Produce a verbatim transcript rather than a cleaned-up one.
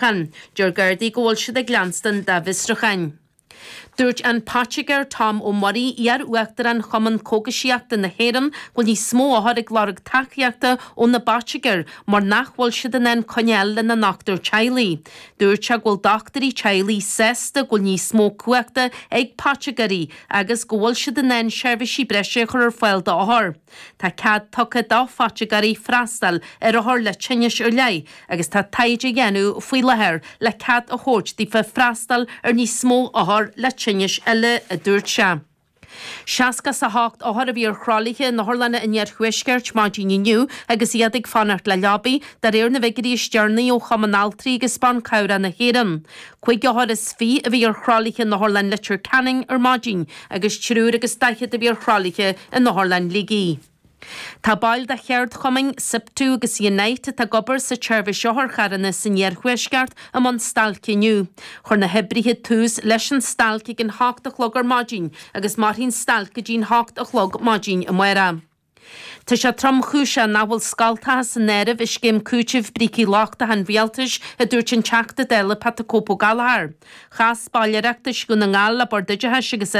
Deir Gardaí go bhfuil siad ag leanstan dá bhfiosrúcháin. Dúirt an Pottinger Tom Ó Muirí iar-uachtarán Chumann Cógaisíochta na hÉireann go bhfuil níos mó othar ag lorg tacaíochta ó na bpottiger mar nach bhfuil siad in ann coinneáil lena ndochtúir teaghlaigh. Dúirt sé go bhfuil dochtúirí teaghlaigh sásta go bhfuil níos mó cumhachta ag pottigerí agus go bhfuil siad in ann seirbhísí breise a chur ar fáil d'othair. Tá cead tugtha do phottigerí freastal ar othair le tinnis ar leith agus tá taighde á dhéanamh faoi láthair le cead a thabhairt daofa freastal ar níos mó othar le tinnis eile a dúirt sé. Seasca a hocht othar a bhí ar thralaithe in otharlanna an iarthuaiscirt maidin inniu agus iad ag fanacht le leabaí de réir na bhfigiúirí is deireanaí ó Chumann Altraí agus Ban Cabhrach na hÉireann. Cúig othar is fiche a bhí ar thralaithe in Otharlann Leitir Ceanainn ar maidin agus triúr agus daichead a bhí ar thralaithe in Otharlann Shligigh. Tá baill de cheardchumainn SIPTU agus Unite atá ag obair sa tseirbhís otharcharranna san iarthuaisceart i mbun stailce inniu. Chuir na hoibrithe tús leis an stailc ag an hocht a chlog ar maidin agus mairfidh an stailc go dtí an hocht a chlog maidin amárach. Tá sé tromchúiseach nach bhfuil scoltacha san áireamh i scéim cúitimh brící lochtacha an rialtais a dúirt an Teachta Dála Pat the Cope Ó Gallchóir. Chas baill Oireachtais Dhún na nGall le Bord Oideachais agus